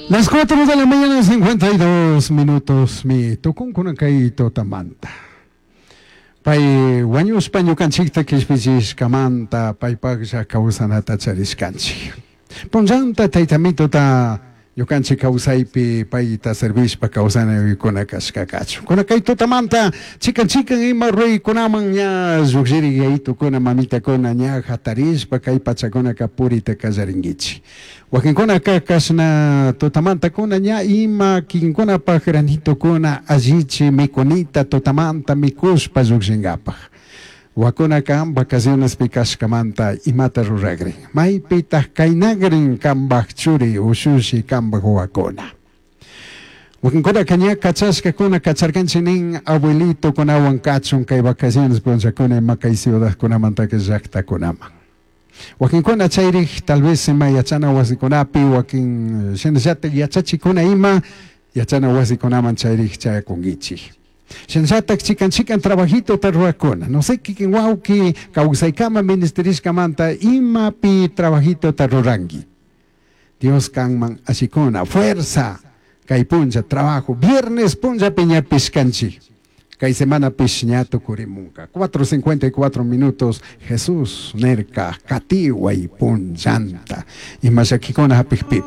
Las 4 de la mañana, 52 minutos, mi tukunkuna kay tutamanta. Pay wañushpa ñukanchikta kishpichishkamanta paypaklla kawsanata charishkanchik. Punllanta taytamituta ñukanchik kawsaypi payta servishpa kawsanaykuna kashkakachu. Kuna kay tutamanta chikan chikan ima ruraykunaman ña llukshiri yayitukuna mamitakuna ña hatarishpa kay pachakunaka purita kallarinkichik. Wakinkunaka kashna tutamantakuna ña ima kikinkunapak granitokuna allichi mikunita tutamanta mikushpa llukshinkapaj. Wakunaka vacacionespi kashkamanta imata ruragrin. Maypitaq kaynagrin kambaj churi ushushi kambaj wawakuna. Wakinkunaka ña kachashkakuna kacharkanchik nin abuelitokunawan kachun kay vacaciones punllakuna ima kay ciudadkunamantaka llaktakunaman. Wakinkuna chayrik tal vez ima yachana wasikunapi wakin shinallatak yachachikuna ima yachana wasikunaman chayrik chayakunkichik. Shinallatak chikan chikan trabajitota rurakuna. No sé kikin wawki kawsaykama ministerishkamanta imapi trabajitota ruranki. Dios kanman ashikuna fuerza kay punlla trabajo viernes punllapi ñapish kanchik. Kay semanapish ña tukurimunka. 4:54 minutos Jesús nerka katiway punllanta. Ima llakikuna hapikpipi.